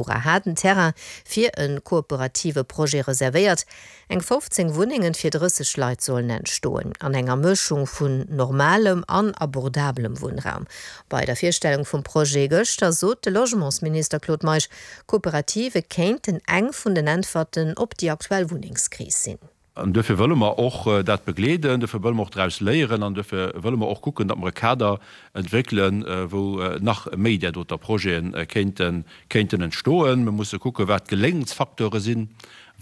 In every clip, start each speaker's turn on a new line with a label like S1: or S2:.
S1: Ora hat den Terrain fir e kooperative Projet reservéiert. Eng 15 Wunnengen fir 30 Leit sollen entstoen, an enger Mëschung vun normalem an abordabelem Wunnraum. Bei der Virstellung vum Projet gëschter sot de Logementsminister Claude Meisch, Kooperative kéinten eng vun den Äntwerten op déi aktuell Wunnengskris sinn.
S2: An duerfir wëlle mer och dat begleeden, duerfir wëlle mer och draus léieren an duerfir wëlle mer och kucken, datt mer e Kader entwéckelen, wou nach méi där doter Projete kéinten, kéinten entstoen. Mir musse kucken, wat d'Geléngensfacteure sinn,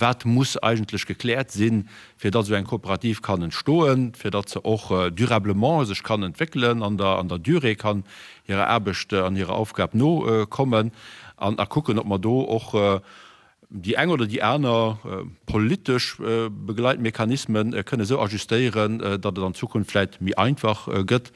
S2: wat muss eigentlech gekläert sinn, fir datt esou eng Kooperativ kann entstoen, fir datt se och durablement sech kann entwéckelen, an der, an der Durée kann hirer Aarbecht an hirer Aufgab nokommen an a kucken, ob mer do och déi eng oder déi aner politesch Begleitmechanisme kënne esou ajustéieren, datt et an Zukunft vläicht méi einfach gëtt,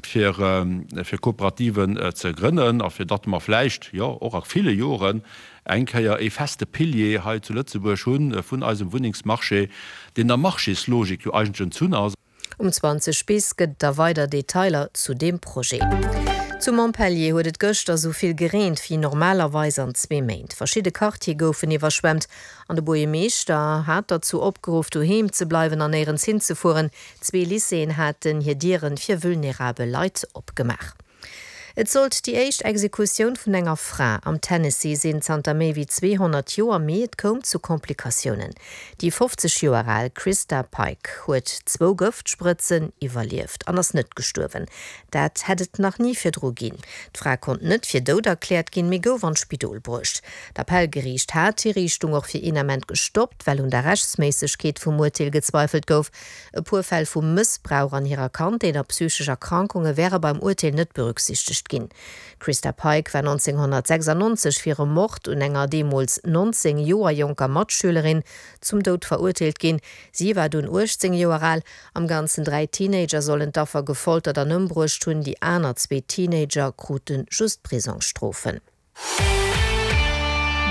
S2: fir Kooperativen ze grënnen a fir datt mer vläicht, jo, och a ville Joren eng Kéier ee feste Pilier hei zu Lëtzebuerg hu vun eisem Wunnengsmarché, deen der Marchéslogik jo eigentlech entzunn ass.
S1: Um 20 bis gëtt et da weider Detailer zu deem Projet. Zu Montpellier huet et gëschter sou vill gereent wéi normalerweis an zwee Méint. Verschidde Quartiere goufen iwwerschwemmt an de Buergermeeschter hat derzou opgeruff, doheem ze bleiwen an néierens hinzefueren. Zwee Lycéeën haten hir Dieren fir vulnerabel Leit opgemaach. Et sollt déi éischt Exekutioun vun enger Fra am Tennessee sinn zanter méi wéi 200 Joer, mee et koum zu Komplikatiounen. Déi 50 Joer al Christa Pike huet zwou Gëftsprëtzen iwwerlieft an ass net gestuerwen. Dat hätt et nach ni virdru ginn. D'Fra konnt net fir dout erkläert ginn, mee gouf an d'Spidol bruecht. D'Appellgeriicht hat d'Hiriichtung och fir een Ament gestoppt, well un der Rechtsméissegkeet vum Urteel gezweifelt gouf. E puer Fäll vu Mëssbrauch an hirer Kandheet a psychesch Erkrankunge wäre beim Urteel net berücksichtegt ginn. D'Christa Pike war 1996 fir e Mord un enger deemools 19 Joer jonker Matschülerin zum Doud verurteelt ginn. Si war dunn 18 Joer al. Am Ganzen 3 Teenager sollen d'Affer gefoltert an ëmbruecht hunn. Déi aner zwee Teenager krute just Prisongsstrofen.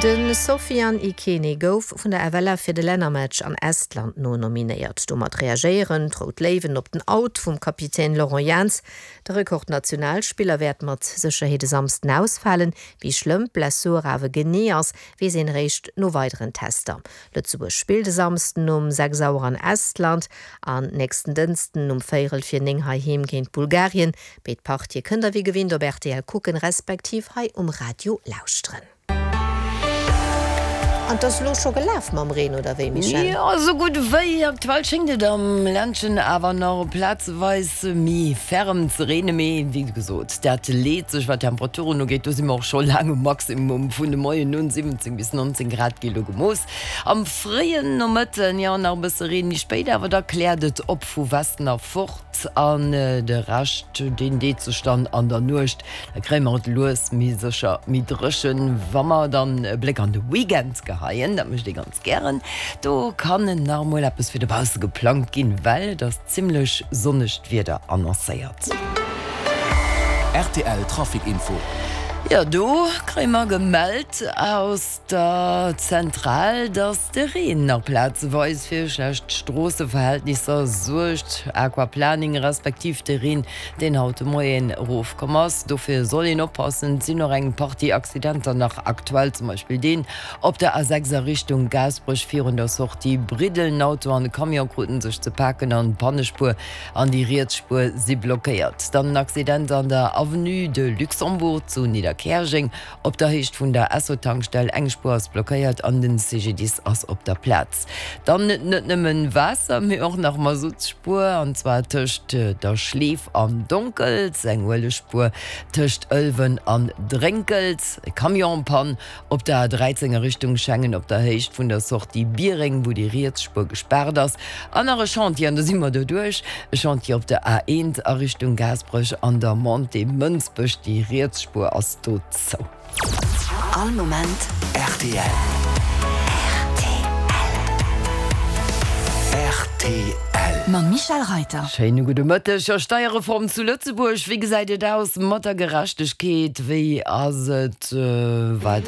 S1: De Sofiane Ikene gouf vun der FLF fir de Lännermatch an Estland nonominéiert. Domat reagéieren d'Rout Léiwen op den Out vum Kapitän Laurent Jans. De Rekordnationalspiller wäert mat Sécherheet e Samsden ausfalen. Wéi schlëmm d'Blessur awer genee ass, weess een eréischt no weideren Tester. Lëtzebuerg spillt e Samsden um 6 Auer an Estland an nächsten Dënsten um véierel vir 9 heiheem géint Bulgarien. Béid Partië kënnt der wéi gewinnt op rtl kucken, respektiv hei um Radio lauschteren. An 't ass elo scho gelaf mam Reen, oder wéi Michèle?
S3: Jo, esou gutt wéi. Aktuell schéngt et am Ländchen awer nach plazeweis méi ferm ze reene, mee wéi gesot, dat leet sech wat d'Temperaturen ugeet. Do si mer och scho laang um Maximum vun de Moien un, 17 bis 19 Grad gi lo gemooss. Am fréien Nomëtten, jo, nach e bësse Reen, méi spéit awer da kläert et op vu Westen erfort. An de Rescht, deen deet sech dann an der Nuecht. Da kréie mer et lues méi sécher méi dréchen. Wa mer dann e Bléck an de Weekend geheien, dat mécht ee ganz gären, do kann nach emol eppes fir dobausse geplangt ginn, well et ass zimmlech sonnegt Wieder annoncéiert.
S4: Rtl Trafic Info.
S3: Jo, do kréie mer gemellt aus der Zentral, dass de Reen nach plazeweis fir schlecht Stroosseverhältnisser suergt, Aquaplaning respektiv de Reen, deen haut de Moien erofkomm ass. Dofir soll een oppassen. Et sinn och eng Partie Accidenter nach aktuell, zum Beispill deen op der A6 a Richtung Gaasperech virun der Sortie Briddel. En Auto an e Camion kruten sech ze paken an d'Pannespuer an déi riets Spuer si blockéiert. Dann en Accident an der Avenue de Luxembourg zu Nidderkäerjeng. Op der Héicht vun der Esso-Tankstell, eng Spuer ass blockéiert an den CGDIS ass op der Plaz. Dann net nëmmen Waasser, mee och nach Masuttspuer, an zwar tëscht der Schleef an Donkels, eng Uelegspuer tëscht Ëlwen an Drénkels, e Camion en panne op der A13 a Richtung Schengen op der Héicht vun der Sortie Biereng, wou déi riets Spuer gespaart ass, an nach e Chantier, an da si mer doduerch, e Chantier op der A1 a Richtung Gaasperech an der Montée Mënsbech, déi riets Spuer ass dozou.
S4: All Moment rtl. Rtl.
S5: Mam Michèle Reyter.
S3: Schéine gudde Mëtteg. Jo, Steierreform zu Lëtzebuerg, wéi gesäit et aus mat der Gerechtegkeet? Wéi ass et weider?